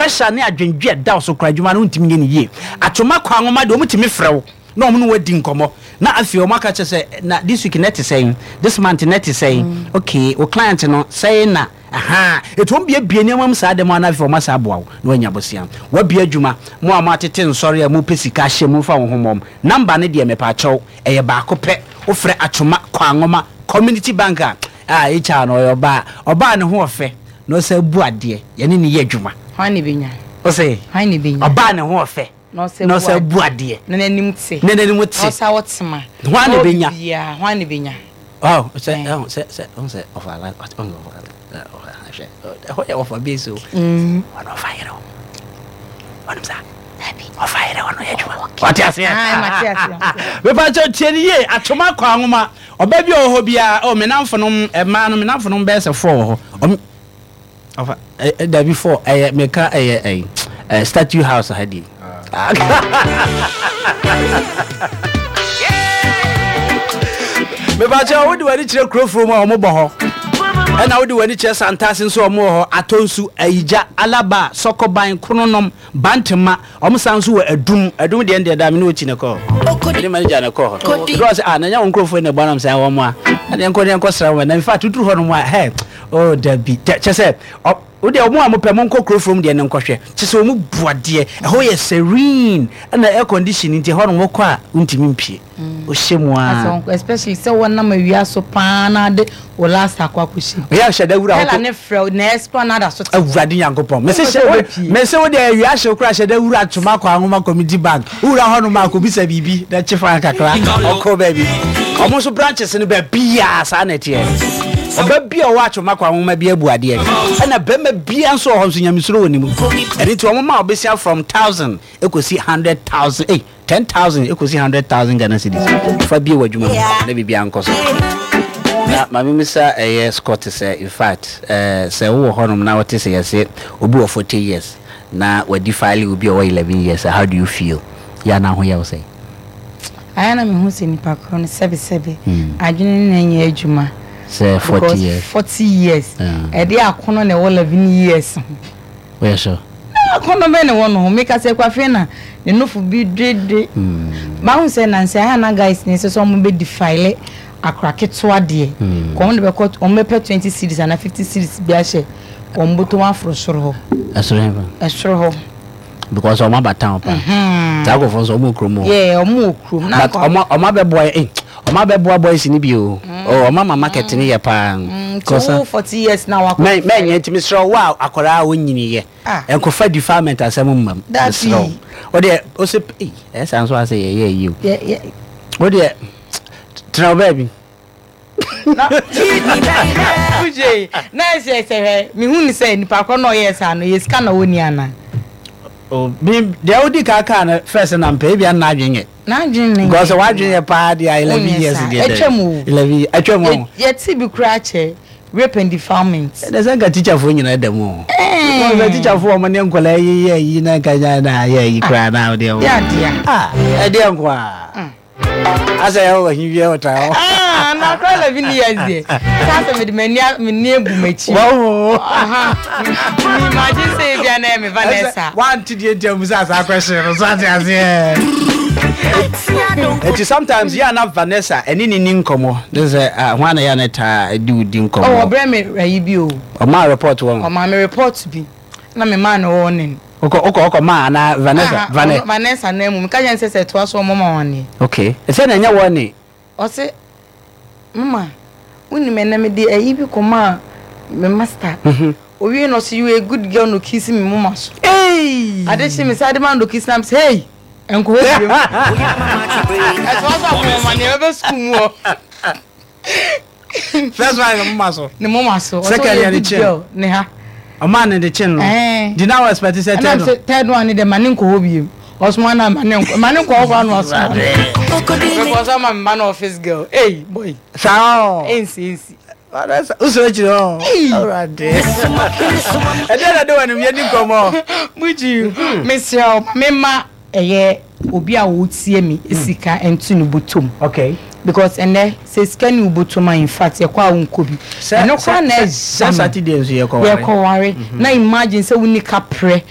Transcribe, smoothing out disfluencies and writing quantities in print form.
Pressure ne adwendwe a ɛda wo so koraa, adwuma no wontumi nyɛ no yie. Atwoma Kwanwoma deɛ, wɔtumi frɛ wo na wɔn ne wo adi nkɔmmɔ na afei wɔn aka kyerɛ sɛ na this week na ɛte sɛn, this month na ɛte sɛn, okay, wo client no sɛn na ahaa. Ɛti wɔn biebie nneɛma mu saa dɛm a na afei wɔn asa aboa wo na woanya bosea. Woabie adwuma, mo a moatete nsɔre a mopɛ sika ahyɛ mu mfa wo ho mmɔm. Number no deɛ mepaakyɛw ɛyɛ baako pɛ, wofrɛ Atwoma Kwanwoma Community Bank a, Ah HR no ɔyɛ ɔbaa ɔbaa ne ho ɔfɛ na ɔsan bu adeɛ yɛne no yɛ adwuma. Hwan na ebenya? Ɔse Hwan na ebenya? Ɔbaa ne ho ɔfɛ Na ɔsan na bu ɔsan adeɛ. bu adeɛ. Na n'anim te. Na n'anim te. Na ɔsan wɔ tema. Hwan na Na ɔwɔ ebenya? biribiara hwan na ebenya? Oh sɛ Eh. ɛho sɛ sɛ ɔho sɛ ɔfa la ɔho sɛ ɔfa la ɔfa hwɛ ɛhɔ yɛ ɔfa base o. Ɔno ɔfa yere o. Ɔnim saa. Dabi. Ɔfa yere ɔno yɛ adwuma. Wate aseɛ? Ah, mate aseɛ, mate aseɛ. Mepa kyɛw tie no yie atwoma kɔ anwoma. Ɔbaa bi a ɔwɔ hɔ biara, oh, me namfonom, mmaa no, me namfonom bɛyɛ sɛ four wɔ hɔ. Ɔm, ɔfa, ɛ, ɛ, dabi four, ɛyɛ, meka ɛyɛ, ɛyi, ɛ, statue house ha di. Mepakyɛ wode w'ani kyerɛ kurofuro mu a wɔn bɔ hɔ ɛna wode w'ani kyerɛ santase nso wɔn wɔ hɔ atɔnsu ayigya alaba sɔkɔban krononom Bantama, wɔn san nso wɔ Adum, Adum deɛ ndeɛ daa me ne Ochi na ɛkɔɔ hɔ, me ne manager na ɛkɔɔ hɔ, ɛduru hɔ sɛ ah na ɛnyɛ wɔn nkurɔfoɔ yi na ɛbɔ anam sɛ wɔn a, ɛna yɛnkɔ ne yɛnkɔ sra wɔn, na in fact woduru hɔ nom a hɛ, oh dabi, kyɛ sɛ, ɔ, wo deɛ wɔn a mopɛ monkɔ kuro from deɛ no nkɔhwɛ, kyɛ sɛ wɔn bu adeɛ, ɛhɔ yɛ serene, ɛna air condition nti ɛhɔ nom wokɔ a wontumi mpie. Wohyɛ mu aa. Especially sɛ wɔnam awia so paa na ade wo last akɔ akɔhyɛ mu. Yɛ hyɛ da wura hɔ. Ɛla ne frɛ wo na esplanade aso te. Awurade Nyankopɔn. Mese hyɛ mese wo deɛ awia hyew koraa hyɛ da wura Twoma kɔ Anwoma Community Bank. Wowura hɔ nom a kɔbisa biribi na kye fan kakra ɔkɔ baabi. Ɔmo nso branches no baabiaa saa na ɛteɛ. Ɔba bi a ɔwɔ Atwoma kɔ Anwoma bi abu adeɛ. Ɛna bɛrima bia nso wɔ hɔ nso nyamesuro wɔ ne mu. Ɛno nti ɔmo ma ɔbesia from 1,000 ɛkɔsi 100,000 ei. 10,000 ekosi 100,000 Ghana cedis fa bue w'adwuma mu na biribiara nkɔ so. Na ma memmisa ɛyɛ Scott sɛ in fact eh, sɛ wowɔ hɔnom na wote sɛ yɛse obi wɔ 40 years na wadi file obi a ɔwɔ 11 years a, how do you feel? Yɛ a na ho yɛ wo sɛn? Ayɛ na mehu sɛ nipa korɔ no sɛbesɛbe adwene no na ɛnyɛ adwuma. Sɛ 40 Because years. 40 years ɛde akono na ɛwɔ 11 years ho. Woyɛ sure? Na akɔnnɔ bɛn na ɛwɔ no ho? Meka sɛ Kwafie na ne nofo bi dwedwe. Mahu sɛ nansa yi a na guys no sɛ sɛ wɔn bɛ defile akora ketewa deɛ. Kɔ wɔn de bɛkɔ wɔn bɛpɛ 20 cedis anaa 50 cedis bi ahyɛ wɔn bɔtɔ mu aforo soro hɔ. Ɛsoro he fa? Ɛsoro hɔ. Because wɔn aba town pa. Saa nkurɔfoɔ nso wɔn wɔ kurom hɔ. Yeah, wɔn wɔ kurom. But wɔn wɔn abɛboa eh wɔn abɛboa boys ni bi o. Oh, wɔn ama market ni yɛ paa. Nti wo 40 years na wakɔ. Mɛ mɛ nyɛ nti mesrɛ wo a akwadaa a wonyini yɛ. Nkɔfa defilement asɛm mma mu. Mesrɛ wo. Wo deɛ wo se ei ɛyɛ saa nso asɛ yɛyɛ yi o. Wo deɛ tena wo baabi. Na Ujay, na ɛsɛ sɛ hwɛ mehu ne sɛ nipa korɔ na ɔyɛɛ saa no yɛ sika na ɔnni anaa? Oh, me deɛ wodi kan kaa no first na mpɛ ebia na n'adwene nyɛ. N'adwene ne nyɛ. Because w'adwene yɛ paa deɛ 11 years deɛ dɛ. Atwam o. 11 atwam o. Yɛte bi koraa kyɛ rape and defilement. Ɛnɛ sɛ nka teacherfoɔ nyinaa da mu o. Because sɛ teacherfoɔ wɔn ne nkwadaa yi yɛ yi na nka nya na yɛ yi koraa na deɛ. Yɛ adeɛ. Ah, ɛdeɛ nko a. Asɛ yɛ wɔ hi wiɛ ɔtra hɔ. Ah, na akora 11 years deɛ. Saa sɛ mede m'ani m'ani abu m'akyi. Wɔho. Aha. Mi imagine sɛ ebi a na ɛyɛ me Vanessa. Wante deɛ nti a musa saa question no so ate aseɛ. Eti sometimes yɛ na Vanessa ɛne ne ni nkɔmɔ. Ne sɛ ah ho ana yɛ na taa di wo di nkɔmɔ. Oh, ɔbrɛ me ayi bi o. Ɔmaa report wɔn. Ɔmaa me report bi. Na me maa no warning. Okɔ okɔ okɔ maa anaa Vanessa Aha, Vane. ɔno Vanessa nan mu. Meka kyerɛ no sɛ sɛ ɛtoa so a ɔmmɔ ma wɔn aneɛ. Okay. Ɛsɛ na ɛnyɛ wɔne. Ɔse, Mama, wonim ɛnɛ mede ayi bi kɔmaa me master. Owie no ɔse, you a good girl na okisi me moma so. Eii! Ade kye me saa de ma no na okisi na mese, hey! Ɛnkɔ hɔ biom. Ɛtoa so a ɔmmɔ ma wɔn aneɛ, ɛbɛba sukuu mu hɔ. First one ne moma so. Ne moma so. Second yɛ ne chin. Ne ha. Ɔmaa ne de chin no. Di na wɔ expect sɛ third one. Third one ne de ma ne nkɔ hɔ biem. Ɔsoma na ma ne nkɔ ma ne nkɔ hɔ koraa na ɔsoma. Because ɔma me ma no office girl. Hey boy. Saa ɔ. Ensi ensi. Wosoro akyiri hɔ. Awurade. Ɛdeɛ na de wɔ anim yɛ di nkɔmɔ. Buju mesrɛ wo ma me ma. Ɛyɛ obi a ɔretie me sika nto ne bɔtɔm. Okay. Because ɛnɛ sɛ sika ni wo bɔtɔm a in fact yɛkɔ a wonkɔ bi. Ɛno koraa na ɛya me. Sɛ Saturday nso yɛkɔware. Yɛkɔware. Na imagine sɛ wonni kaprɛ.